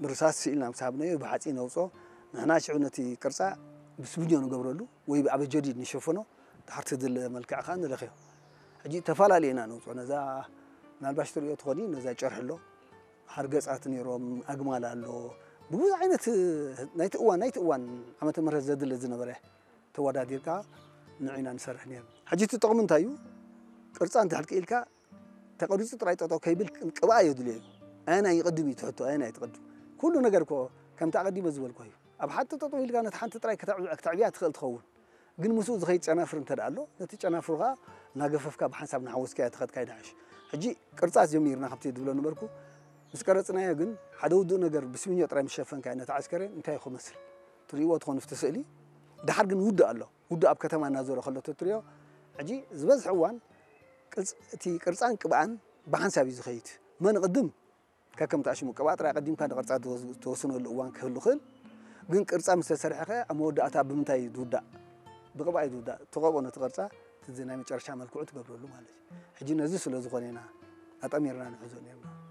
ብርሳስ ስኢልና ምስ ሃብናዮ ብሓፂን ነውፅኦ። ንሕና ሽዑ ነቲ ቅርፃ ብስብኞ ንገብረሉ ወይ ብኣበጀዲድ ንሸፈኖ። ድሓር ትድለ መልክዕ ከዓ ንለኽዮ። ሕጂ ተፈላለየ ኢና ነውፅኦ። ነዛ ምናልባሽ ትሪኦ ትኾኒ፣ ነዛ ጨርሒ ኣሎ፣ ሓርገፃት ነይሮም፣ ኣግማል ኣሎ፣ ብብዙሕ ዓይነት ናይቲ እዋን ናይቲ እዋን ዓመተ ምህረት ዘድለ ዝነበረ ተወዳዲርካ ንዒና ንሰርሕ ነይርና። ሕጂ እቲ ጥቕሚ እንታይ እዩ? ቅርፃ እንድሕር ክኢልካ ተቐሪፁ ጥራይ ጠጠው ከይብል ቅብኣ የድልዮ እዩ። ኣየናይ ይቕድም እዩ ትሕቶ፣ ኣየናይ ትቕድም? ኩሉ ነገር እኮ ከምቲ ኣቐዲመ ዝበልኩ እዩ። ኣብ ሓንቲ ጠጠው ኢልካ ነቲ ሓንቲ ጥራይ ከተዕብ- ከተዕብያ ትኽእል ትኸውን። ግን ምስኡ ዝኸይድ ጨናፍር እንተ ደኣ ኣሎ፣ ነቲ ጨናፍሩ ኸዓ እናገፈፍካ ብሓንሳብ እናሓወስካዮ ተኸድካ ይድሓሽ። ሕጂ ቅርፃ ጀሚርና ከምቲ ድብሎ ነበርኩ። ምስ ቀረፅናዮ ግን ሓደ ውዱእ ነገር ብስሚኞ ጥራይ ምስ ሸፈንካዮ ነቲ ዓስከሬን እንታይ ክመስል ትርእይዎ ትኾኑ ኣብቲ ስእሊ። ደሓር ግን ውዱእ ኣሎ። ውዱእ ኣብ ከተማ እናዞረ ከሎ ተትርእዮ። ሕጂ ዝበዝሐ እዋን ቅርፅ- እቲ ቅርፃን ቅብኣን ብሓንሳብ እዩ ዝኸይድ። መን ቅድም ከከምቲ ኣሽሙ ቅብኣ ጥራይ ኣቐዲምካ ንቅርፃ ትወስ- ትወስነሉ እዋን ክህሉ ይኽእል። ግን ቅርፃ ምስ ተሰርሐ ኸ ኣብ መወዳእታ ብምንታይ እዩ ዝውዳእ? ብቅብኣ እዩ ዝውዳእ። ትቐብኦ ነቲ ቅርፃ፣ እቲ ናይ መጨረሻ መልክዑ ትገብረሉ ማለት እዩ። ሕጂ ነዚ ስለ ዝኾነ ኢና ኣጠሚርና ንሕዞ ነርና።